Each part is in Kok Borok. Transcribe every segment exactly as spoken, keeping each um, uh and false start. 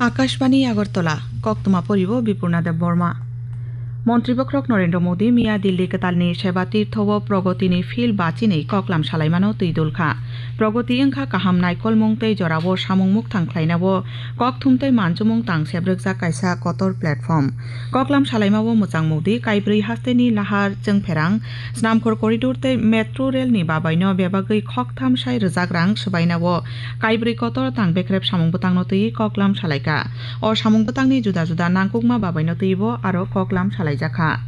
Akashbani Agartala, koktwma poribo Bipurna Debbarma. Montri bokhorok Narendra Modi miya Delhi kwtalni Seba Tirtho o Pragotini field bachinwi koklam salaimano twi dulkha. Pragoti wngkha kaham naikolmung tei jorao samung mukthang khlainao kokthum tei manjumung tang sebrwkjak kaisa kotor platform. Koklam salaimao mwchang Modi kaibrwi hasteni lahar chwngpherang, snamkhor corridor tei metro rail ni babaino bebagwi khoktham sai rwjak rang swbainao kaibrwi kotor tang bekrep samung bwtangno twiwi koklam salaikha. O samung bwtangni juda juda nangkukma babaino twibo aro koklam salaijakha.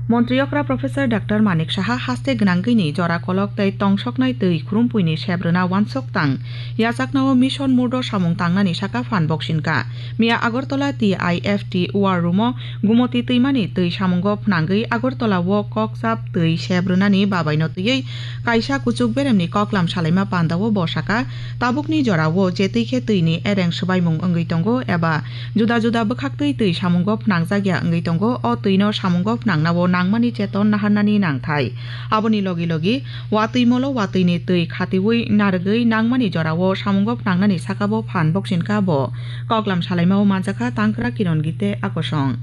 Montri okra Professor Doctor Manik Saha haste gwnangwini jora kolok tei tongsoknai twi khurumpuini sep rwna wansok tang yachaknao mission murdo samung tangnani saka phan boksinka. Miya Agartala T I F T War Room o Gumoti twimani twi samungo phnangwi Agartala o kokchap twi sep rwnani babaino twiwi kaisa kuchuk beremni koklam salaima pandao bo saka, tabukni jorao je twi khe twini ereng swbaimung wngwi tongo eba juda juda bwkhaktwi twi samungo phnangjakya wngwi tongo, o twino samungo phnangnao nangmani cheton naharnani nangthai. Aboni logi logi watwi molo watwini twi khatiwi narwgwi nangmani jorao samungo phnangnani sakabo phan boksinka bo. Koklam salaimao manjakha Tangkra Kiron Gite Akosong.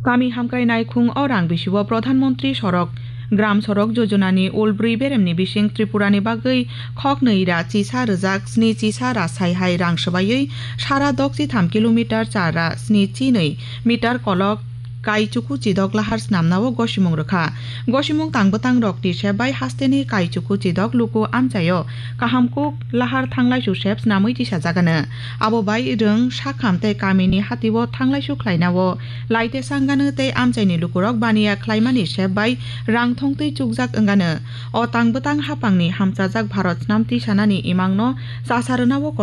Kami hamkrai naikhung o rang bisio Pradhan Mantri Sorok, Gram Sorok Jojonani ulbrwi beremni bising Tripurani bagwi khoknwi ra chisa rwjak sni chisa ra sai hai rang swbaiwi sara dok chi tham kilometer chara sni chi nwi meter kolok kaichuku chidok lahar snamnao gosimung rwkha. Gosimung tang bwtang rokni sep bai hasteni kaichuku chidok luku amchaio kaham kuk lahar thanglaisu sep snamwi tisajagano. Abo bai rwng sakham tei kamini hatio thanglaisu khlainao laite sanggano tei amchaini lukurok baniya khlaimani sep bai rang thongtwi chukjak wngano. O tang bwtang hapangni hamchajak Bharat snam tisanani imangno chasa rwnao